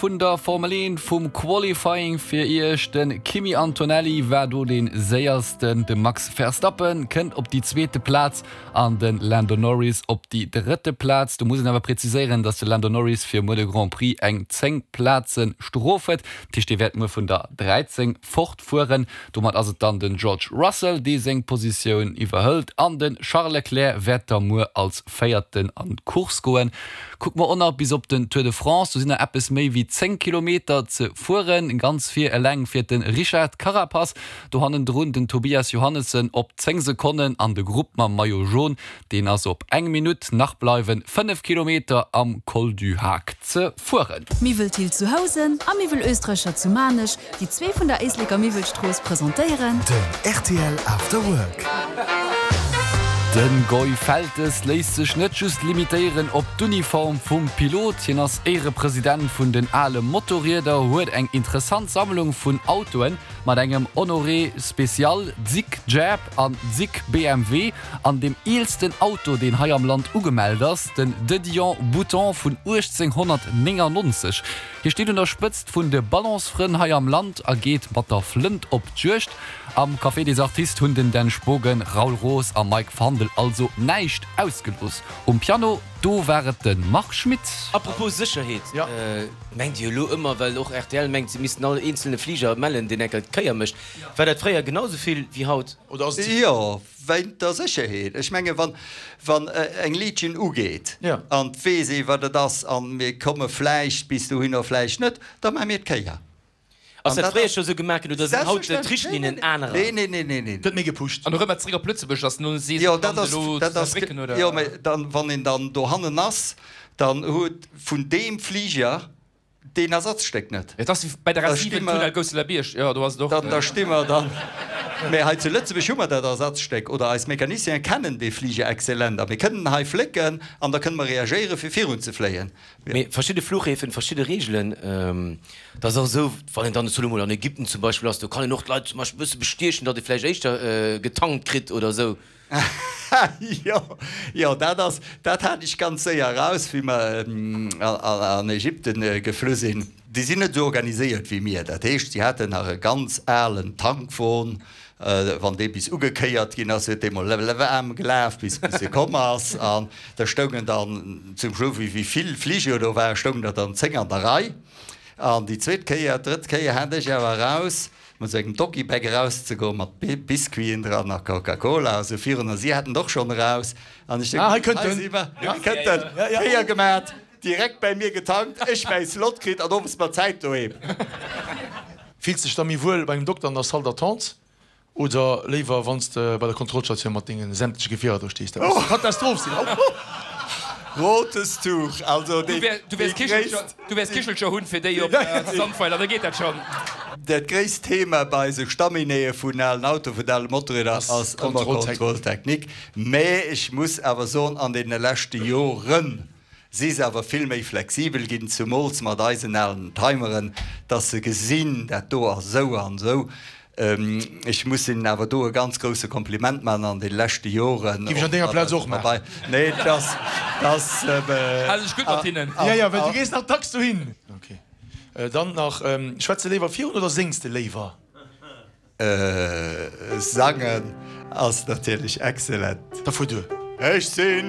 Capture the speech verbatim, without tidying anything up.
Vun der Formel eent vum Qualifying fir iech. De Kimi Antonelli war do dee séiersten, de Max Verstappen kënnt op déi zweete Plaz an de Lando Norris op déi drëtte Plaz. Do muss een awer präziséieren, datt de Lando Norris fir muer de Grand Prix eng zéng Plaze Strof huet. Dat heescht, dee wäert muer vun der dräizéng fortfueren. Domat ass et dann den George Russell, dee seng Positioun iwwerhëlt an de Charles Leclerc wäert da muer als Véierten an d'Course goen. Kucke mer och nach bis op den Tour de France, do sinn nach eppes méi wéi zéng Kilometer ze fueren. Ganz vir eleng fiert de Richard Carapaz, do hannendrun den Tobias Johannessen op zéng Sekonnen an de Grupp mam Maillot Jaune, deen ass op eng Minutt. Nach bleiwe fënnef Kilometer am Col du Haag ze fueren. Miwwel Thill zu Housen a Miwwel Oestreicher zu Maarnech, déi zwee vun der Éisleker Miwwelstrooss presentéieren. Den rtl After Work. De Goy Feltes léisst sech net just limitéieren op d'Uniform vum Pilot. Hien ass Éierepresident vun den ale Motorrieder, huet eng interessant Sammlung vun Autoen mat engem Honoré Special, zig Jab an zig B M W an deem eelsten Auto, deen hei am Land ugemellt ass, den De Dion Bouton vun uechtzénghonnertnéngannonzeg. Hie steet un der Spëtzt vun de Ballonsfrënn hei am Land a geet mat der Flënt op d'Juegd. Am Café des Artistes hunn den Dan Spogen, Raoul Roos a Mike Fandel also näischt ausgelooss. Um Piano, do war et de Marc Schmitt. Apropos Sécherheet, mengt Dir elo ëmmer, well och rtl mengt, se missten all eenzelne Fliger mellen, deen enker d'Kéier mécht, war dat fréier genau esou vill wéi haut? Oder ass et ze vill? Jo, wéint der Sécherheet. Ech menge wann, wann eng Legion ugeet an et weess ee wat et ass an mir komme vläicht bis dohinner, vläicht net, da maache mir d'Kéier. Ass dat fréier scho sou gemaach ginn oder sinn haut d'Richtlinnen anerer? Nee, nee, nee, nee, nee. Gëtt méi gepusht. An erëm zeréck op Lëtzebuerg ass no Jo, dat ass, dat ass, jo, mä dann, wann een dann dohannen ass, dann huet vun deem Fliger deen Ersatzstéck net. Et ass wéi bei der Da A sti siwen mer, Tunnel Gousseler-Bierg, jo, do ass et och. dann, da sti mer dann, mä hei zu Lëtzebuerg hu mer dat Ersatzstéck oder eis Mecaniciene kennen dee Fliger exzellent a mir kënnen en hei flécken an da kënne mer reagéieren, fir virunzefléien. Mee verschidde Fluchhäfen, verschidde Reegelen, dat ass och esou, wann een dann elo mol an Ägypten zum Beispill ass, do kann een och d'Leit zum Beispill e bësse bestiechen, datt ee vläicht éischter getankt kritt oder esou. Jo, jo, dat ass, dat hat ech ganz séier eraus, wéi mer an Ägypten geflu sinn. Déi sinn net esou organiséiert wéi mir. Dat heescht, si haten nach e ganz alen Tankwon. Wann dee bis ugekéiert ginn ass, huet dee mol waarm gelaf, bis e komm ass. An da stoungen dann zum Schluss, wéi vill Fliger do waren, stoungen der dann zéng an der Rei. An déi zweet Kéier, d'drëtt Kéier hat ech awer eraus, mat esou engem Doggy-Bag erauszegoen, mat Biscuiten dran a Coca-Cola a sou virun. A si haten et och schonn eraus. An ech Ah, hei kënnt hei en! si mer, hei kënnt en! Kéier gemat, direkt bäi mir getankt, ech mäi Slot kritt an owes mat Zäit doheem. Fills dech da méi wuel bei engem Dokter an der Salle d'attente oder léiwer wann s de bei der Kontrollstatioun mat dengen sämtleche Gefierer do stees? Dat muss eng Katastroph sinn! Rotes Tuch, also Du déi wäers gréisst. Du wäers Kichelcher hunn fir déi op Sandweiler, da geet dat schonn. Dat gréisst Thema bei esou Staminéeë vun alen Autoen, vun ale Motorrieder ass ëmmer Contrôle technique. Mä ech muss awer soen, an deene leschte Joren si se awer vill méi flexibel ginn, zumools mat eisen alen Timeren, dass se gesinn, dat do ass esou an esou. Ech muss hinnen awer do e ganz grousse Kompliment maachen an deene leschte Joren. Géif ech an denger Plaz och maachen. Nee, dass, dass. Hal dech gutt mat hinnen. Jo, jo, well du gees nach dacks dohin. Ok. Dann nach, Schwätz de léiwer virun oder séngs de léiwer? Sangen ass natierlech excellent. Da fuer duer. Ech sinn.